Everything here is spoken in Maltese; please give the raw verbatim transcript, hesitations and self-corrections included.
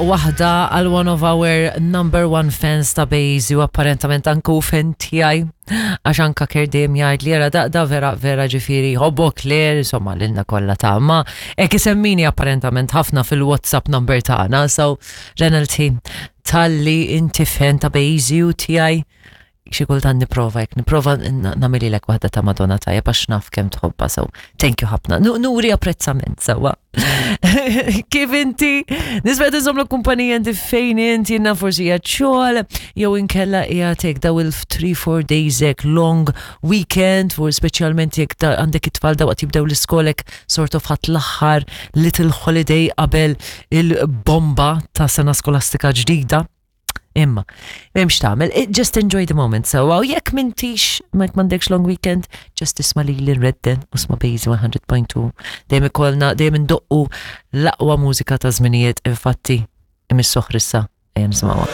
Waħda għal one of our number one fans ta' Bejzi u apparentament anku fan tiegħi, għax anka kerdem jgħid li jara da, da vera vera ġifieri ħobbok Claire, insomma lilna kollha ta' ma hekk isemmini apparentament ħafna fil-WhatsApp number tagħna. So Renald, talli inti fan ta' Bejzi u tiegħi, xi kultant nipprova jekk nipprova nagħmililek waħda ta' Madonna, tajjeb, għax naf kemm tħobba, so thank you ħafna. Nuri apprezzament sewwa. Kif inti? Nispera tinżomm kumpanija inti fejn inti jenna, forsi qiegħed xogħol jew inkella qiegħed daw il three four days hekk long weekend, for speċjalment jekk għandek it-tfal dawaqt jibdew l-iskolek, sort of ħadd l-aħħar little holiday qabel il-bomba ta' sena skolastika ġdida. Imma, m'hemmx tagħmel, just enjoy the moment. So, għaw jekk m'intix, jekk m'għandekx long weekend, just isma' li l-redden u isma' Bejzi one hundred point two. Dejjem ikollna, dejjem indoqqu l-aqwa mużika ta' żminijiet, infatti, imissu issa, ejja nisimgħuha.